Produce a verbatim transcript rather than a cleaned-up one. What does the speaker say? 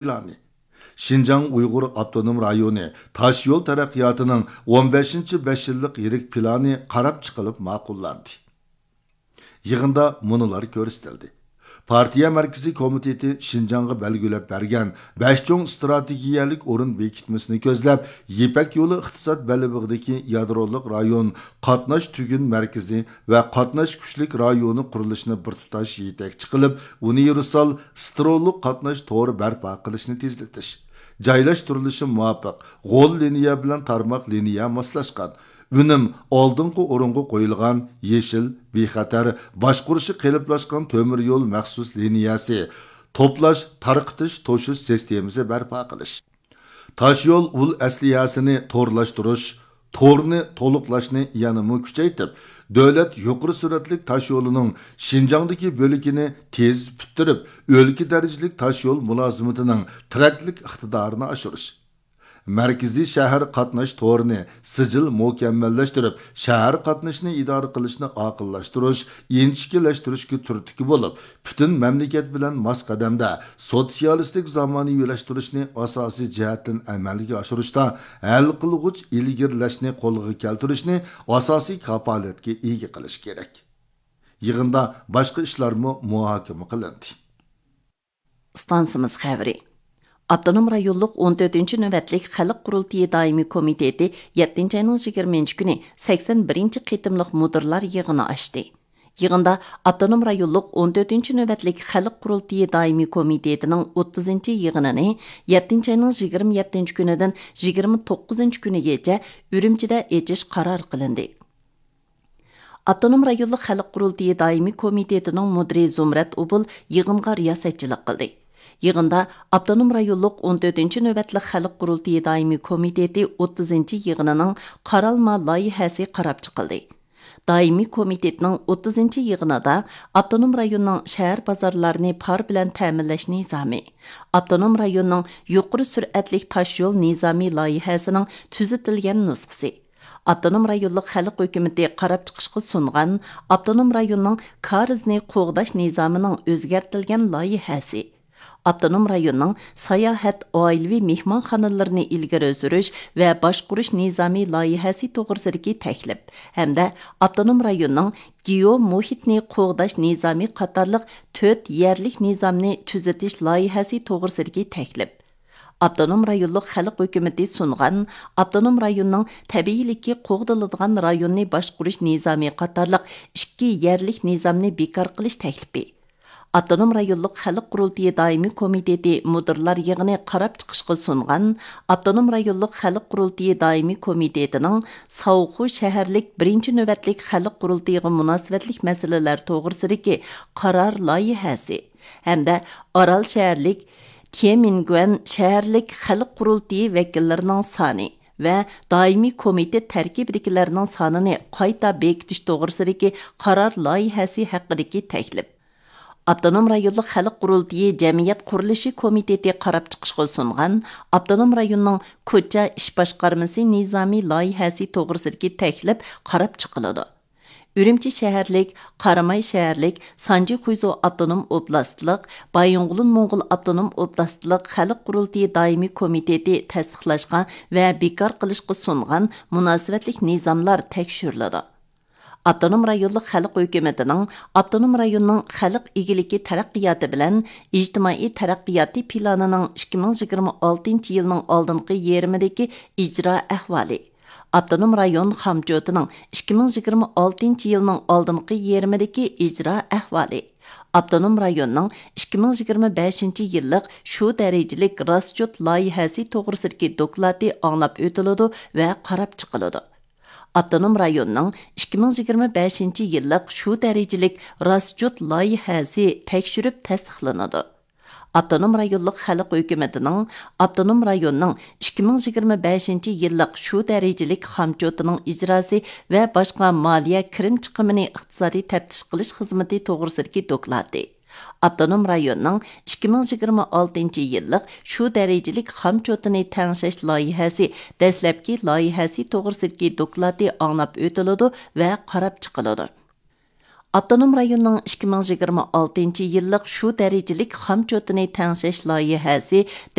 پىلانى، شىنجاڭ ئۇيغۇر ئاپتونوم رايونى تاشيول تەرەققىياتىنىڭ ئون بەشىنچى بەش يىللىق يىرىك پىلانى قاراپ چىقىلىپ ماقۇللاندى. يىغىندا مۇنۇلار كۆرسىتىلدى. پارتىيە مەركىزىي كومىتېتى شىنجاڭغا بەلگىلەپ بەرگەن بەش چوڭ ئىستراتېگىيەلىك ئورۇن بېكىتمىسىنى كۆزلەپ، يىپەك يولى ئىقتىساد بەلبېغىدىكى يادرولۇق رايون قاتناش تۈگۈن مەركىزى ۋە قاتناش كۈچلۈك رايونى قۇرۇلۇشىنى بىر تۇتاش يېتەكچى قىلىپ، ئۇنىۋېرسال سترولۇق قاتناش تورى بەرپا قىلىشنى تېزلىتىش، جايلاشتۇرۇلۇشى مۇۋاپىق، غول لىنىيە بىلەن تارماق لىنىيە ماسلاشقان، ئۈنۈم ئالدىنقى ئورۇنغا قويۇلغان يېشىل، بىخەتەر، باشقۇرۇشى قېلىپلاشقان تۆمۈر يول مەخسۇس لىنىيەسى، توپلاش، تارقىتىش، توشۇش سىستېمىسى بەرپا قىلىش. تاشيول ئۇل ئەسلىھەسىنى تورلاشتۇرۇش، تورنى تولۇقلاشنى يەنىمۇ كۈچەيتىپ، دۆلەت يۇقىرى سۈرئەتلىك تاشيولىنىڭ شىنجاڭدىكى بۆلىكىنى تېز پۈتتۈرۈپ، ئۆلكە دەرىجىلىك تاشيول مۇلازىمىتىنىڭ تىرەكلىك ئىقتىدارىنى ئاشۇرۇش. مەركىزىي شەھەر قاتناش تورىنى سىجىل مۇكەممەللەشتۈرۈپ، شەھەر قاتنىشىنى ئىدارە قىلىشنى ئاقىللاشتۇرۇش، ئىنچىكىلەشتۈرۈشكە تۈرتكە بولۇپ، پۈتۈن مەملىكەت بىلەن ماس قەدەمدە سوتسىيالىستىك زامانىۋىلاشتۇرۇشنى ئاساسىي جەھەتتىن ئەمەلگە ئاشۇرۇشتا ھەل قىلغۇچ ئىلگىرىلەشنى قولغا كەلتۈرۈشنى ئاساسىي كاپالەتكە ئىگە قىلىش كېرەك. يىغىندا باشقا ئىشلارمۇ مۇھاكىمە قىلىندى. ئىستانسىمىز خەۋىرى. ئاپتونوم رايونلۇق ئون تۆتىنچى نۆۋەتلىك خەلق قۇرۇلتىيى دائىمىي كومىتېتى يەتتىنچى ئاينىڭ يىگىرمىنچى كۈنى سەكسەن بىرىنچى قېتىملىق مۇدىرلار يىغىنى ئاچتى. يىغىندا ئاپتونوم رايونلۇق ئون تۆتىنچى نۆۋەتلىك خەلق قۇرۇلتىيى دائىمىي كومىتېتىنىڭ ئوتتۇزىنچى يىغىنىنى يەتتىنچى ئاينىڭ يىگىرمە يەتتىنچى كۈنىدىن يىگىرمە توققۇزىنچى كۈنىگىچە ئۈرۈمچىدە ئېچىش قارار قىلىندى. ئاپتونوم رايونلۇق خەلق قۇرۇلتىيى دائىمىي كومىتېتىنىڭ مۇدىرى زۇمرەت ئوبۇل يىغىنغا رىياسەتچىلىك قىلدى. يىغىندا ئاپتونوم رايونلۇق ئون تۆتىنچى نۆۋەتلىك خەلق قۇرۇلتىيى دائىمىي كومىتېتى ئوتتۇزىنچى يىغىنىنىڭ قارالما لايىھەسى قاراپ چىقىلدى. دائىمىي كومىتېتنىڭ ئوتتۇزىنچى يىغىنىدا ئاپتونوم رايوننىڭ شەھەر بازارلارنى پار بىلەن تەمىنلەش نىزامى، ئاپتونوم رايوننىڭ يۇقىرى سۈرئەتلىك تاشيول نىزامى لايىھەسىنىڭ تۈزىتىلگەن نۇسخىسى، ئاپتونوم رايونلۇق خەلق ھۆكۈمىتى قاراپ چىقىشقا سۇنغان ئاپتونوم رايوننىڭ كارىزنى قوغداش نىزامىنىڭ ئۆزگەرتىلگەن لايىھەسى، ئاپتونوم رايوننىڭ ساياھەت، ئائىلىۋى مېھمانخانىلىرىنى ئىلگىرى سۈرۈش ۋە باشقۇرۇش نىزامى لايىھەسى توغرىسىدىكى تەكلىپ ھەمدە ئاپتونوم رايوننىڭ گېئو مۇھىتنى قوغداش نىزامى قاتارلىق تۆت يەرلىك نىزامنى تۈزىتىش لايىھەسى توغرىسىدىكى تەكلىپ، ئاپتونوم رايونلۇق خەلق ھۆكۈمىتى سۇنغان ئاپتونوم رايوننىڭ تەبىئىيلىككە قوغدىلىدىغان رايوننى باشقۇرۇش نىزامى قاتارلىق ئىككى يەرلىك نىزامنى بىكار قىلىش تەكلىپى، ئاپتونوم رايونلۇق خەلق قۇرۇلتىيى دائىمىي كومىتېتى مۇدىرلار يىغىنى قاراپ چىقىشقا سۇنغان ئاپتونوم رايونلۇق خەلق قۇرۇلتىيى دائىمىي كومىتېتىنىڭ ساۋخۇ شەھەرلىك بىرىنچى نۆۋەتلىك خەلق قۇرۇلتىيىغا مۇناسىۋەتلىك مەسىلىلەر توغرىسىدىكى قارار لايىھەسى ھەمدە ئارال شەھەرلىك تيەنئەنگۈەن شەھەرلىك خەلق قۇرۇلتىيى ۋەكىللىرىنىڭ سانى ۋە دائىمىي كومىتېت تەركىبىدىكىلەرنىڭ سانىنى قايتا بېكىتىش توغرىسىدىكى قارار لايىھەسى ھەققىدىكى تەكلىپ، ئاپتونوم رايونلۇق خەلق قۇرۇلتىيى جەمئىيەت قۇرۇلۇشى كومىتېتى قاراپ چىقىشقا سۇنغان ئاپتونوم رايوننىڭ كوچا ئىش باشقارمىسى نىزامى لايىھەسى توغرىسىدىكى تەكلىپ قاراپ چىقىلىدۇ. ئۈرۈمچى شەھەرلىك، قاراماي شەھەرلىك، سانجى خۇيزۇ ئاپتونوم ئوبلاستلىق، بايىنغولىن موڭغۇل ئاپتونوم ئوبلاستلىق خەلق قۇرۇلتىيى دائىمىي كومىتېتى تەستىقلاشقا ۋە بىكار قىلىشقا سۇنغان مۇناسىۋەتلىك نىزاملار تەكشۈرۈلىدۇ. ئاپتونوم رايونلۇق خەلق ھۆكۈمىتىنىڭ ئاپتونوم رايوننىڭ خەلق ئىگىلىكى تەرەققىياتى بىلەن ئىجتىمائىي تەرەققىياتى پىلانىنىڭ ئىككى مىڭ يىگىرمە ئالتىنچى يىلنىڭ ئالدىنقى يېرىمىدىكى ئىجرا ئەھۋالى، ئاپتونوم رايون خامچوتىنىڭ ئىككى مىڭ يىگىرمە ئالتىنچى يىلنىڭ ئالدىنقى يېرىمىدىكى ئىجرا ئەھۋالى، ئاپتونوم رايوننىڭ ئىككى مىڭ يىگىرمە بەشىنچى يىللىق شۇ دەرىجىلىك راسچوت لايىھەسى توغرىسىدىكى دوكلاتى ئاڭلاپ ئۆتۈلىدۇ ۋە قاراپ چىقىلىدۇ. ئاپتونوم رايوننىڭ ئىككى مىڭ يىگىرمە بەشىنچى يىللىق شۇ دەرىجىلىك راسچوت لايىھەسى تەكشۈرۈپ تەستىقلىنىدۇ. ئاپتونوم رايونلۇق خەلق ھۆكۈمىتىنىڭ ئاپتونوم رايوننىڭ ئىككى مىڭ يىگىرمە بەشىنچى يىللىق شۇ دەرىجىلىك خامچوتىنىڭ ئىجراسى ۋە باشقا مالىيە كىرىم چىقىمىنى ئىقتىسادىي تەپتىش قىلىش خىزمىتى توغرىسىدىكى دوكلاتى، ئاپتونوم رايوننىڭ ئىككى مىڭ يىگىرمە ئالتىنچى يىللىق شۇ دەرىجىلىك خامچوتىنى تەڭشەش لايىھەسى دەسلەپكى لايىھەسى توغرىسىدىكى دوكلاتى ئاڭلاپ ئۆتۈلىدۇ ۋە قاراپ چىقىلىدۇ. ئاپتونوم رايوننىڭ ئىككى مىڭ يىگىرمە ئالتىنچى يىللىق شۇ دەرىجىلىك خامچوتىنى تەڭشەش لايىھەسى